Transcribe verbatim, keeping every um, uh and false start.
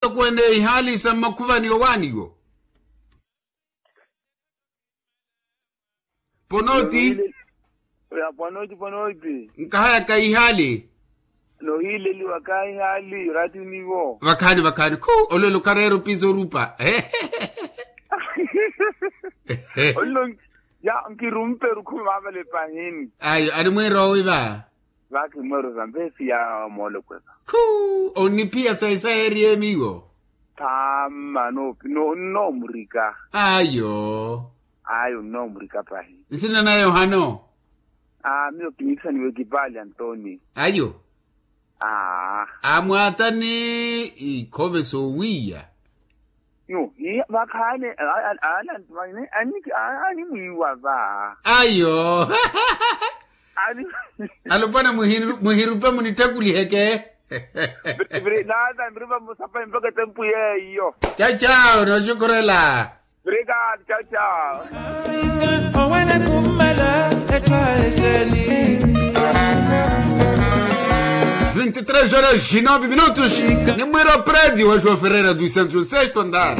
Kweene ihaali sa mmakhuvani owaaniwo. Ponoti. Ya ponoti ponoti. Nkahayaka ihaali. Nohiileliwa kahihaali ratinivo. Vakhaani vakhaani khu. Olwelo kareera opiisa orupa. Ollo. Ya nkirumpe rukhumi vavale pahini. Ayo animwiira owi va. Vakimweero sa mpeesi ya moolokweka. Khu. Oniphiya sayi sayi eriyemiwo. Thaama no nnoomurika. Ayo. Ayo nnoomurika pahi. Nsina na yohano. Aa miyo kiniikisaniwe kipaali antoni. Ayo. Aa. Amwaatani ikhove soowiiya. Yo iya vakhaani. Alantumani animwiiwa va. Ayo. Alopwana muhirupa munittakuli heke. Naata mirupa musapa empaka tempu yeiyo. Chao chao noxukurela. Obrigado chao chao. Owene kummela etthu a eseni. Vinte e três horas e nove minutos. Nimwira o prédio a joão ferreira dos santos sexto andar.